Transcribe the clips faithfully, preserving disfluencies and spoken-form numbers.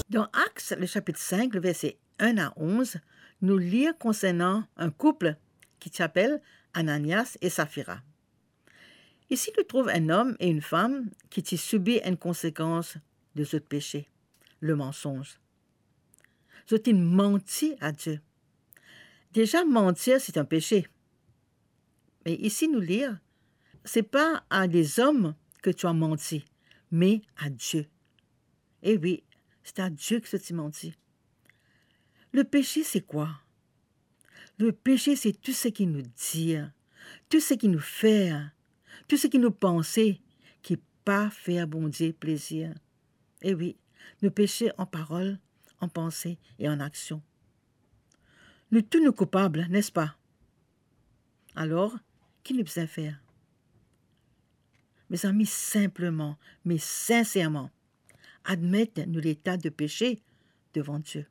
Dan Actes, le chapitre cinq, le verset un à onze, nou lir konsernan enn koup ki ti apel Ananias e Safira. Isi nou trouv enn om e enn fam ki ti sibi enn konsekans de zot pese, le mansonz. Zot inn manti a Die. Deza, mantir, se enn pese. Me isi nou lir, c'est pas à des hommes que tu as menti, mais à Dieu. E wi, se a Die ki zot ti manti. Le pese, se kwa? Le pese, se tou seki nou dir, tou seki nou fer, tou seki nou panse ki pa fer Bondie plezir. E wi, nou pese an parol, an panse e an aksion. Nou tou nou koupab, nespa? Alor, ki nou bizin fer? Mezami, sinpleman, me sinserman, admet nou leta de pese devan Die.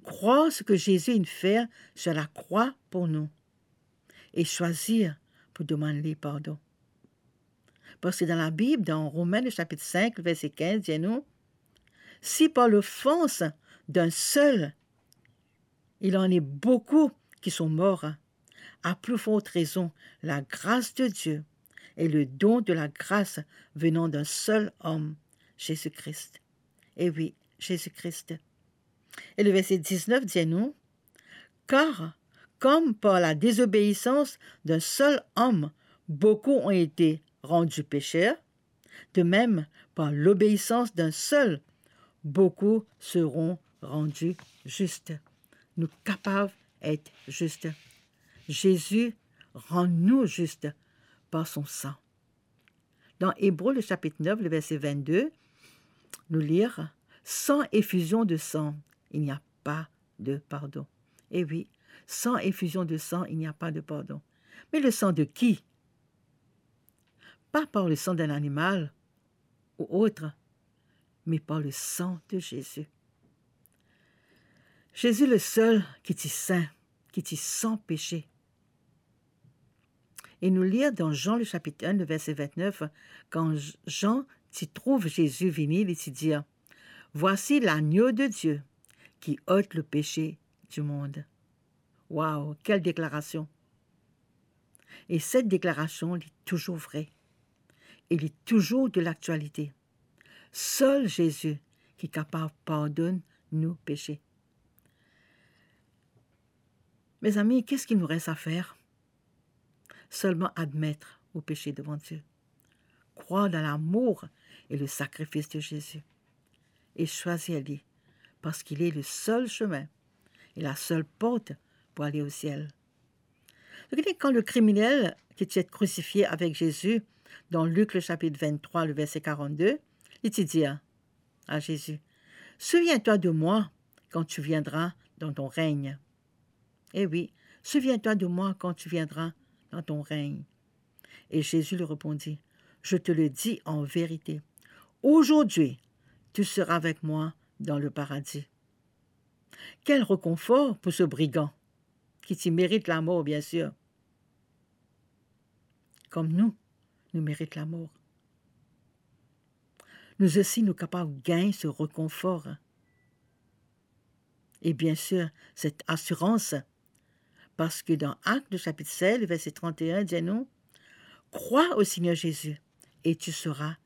Krwar seki Zezi inn fer sir lakrwa pou nou e swazir pou demann li pardon. Parski dan Labib, dan Romin, le chapitre cinq, le verset quinze, dir nou, "Si par l'offense d'un seul, il en est beaucoup qui sont morts, à plus forte raison, la grâce de Dieu et le don de la grâce venant d'un seul homme, Jésus-Christ." E wi, Zezi Kris. E le verset dix-neuf dir nou, "Car comme par la désobéissance d'un seul homme, beaucoup ont été rendus pécheurs, de même, par l'obéissance d'un seul, beaucoup seront rendus justes." Nou kapav et zis. Zezi rann nou zis par son sang. Dan Ebre, le chapitre neuf, le verset vingt-deux, nou lir, "Sans effusion de sang, il n'y a pas de pardon." E wi, sans effusion de sang, il n'y a pas de pardon. Mais le sang de qui? Pas par le sang d'un animal ou autre, mais par le sang de Jésus. Zezi, le sel ki ti sin, ki ti san pese. E nou lir dan Jean, le chapitre un, le verset vingt-neuf, kan Jean ti trouv Zezi vini, li ti dir, "Voici l'agneau de Dieu qui ôte le péché du monde." Waw, kel deklarasion! E set deklarasion, li touzour vre. E li touzour de laktialite. Sel Zezi ki kapav pardonn nou pese. Mezami, qu'est-ce qu'il nous reste à faire? Seulement admettre ou pese devan Die. Croire dans l'amour et le sacrifice de Jésus. Et choisir lui, parce qu'il est le seul chemin et la seule porte pour aller au ciel. Donk, kan le kriminel ki ti et krisifie avek Zezi, dan Lik, le chapitre vingt-trois, le verset quarante-deux, li ti dir a Zezi, "Souviens-toi de moi quand tu viendras dans ton règne." E wi, "Souviens-toi de moi quand tu viendras dans ton règne." Et Jésus lui répondit, "Je te le dis en vérité, aujourd'hui, tu seras avec moi dans le paradis." Kel rekonfor pou se brigan, ki ti merit lamor, biensir. Kom nou, nou merit lamor. Nou osi, nou kapav gagn se rekonfor. E biensir, set asirans, parski dan Actes, le chapitre seize, le verset trente et un, dir nou, "Crois au Seigneur Jésus et tu seras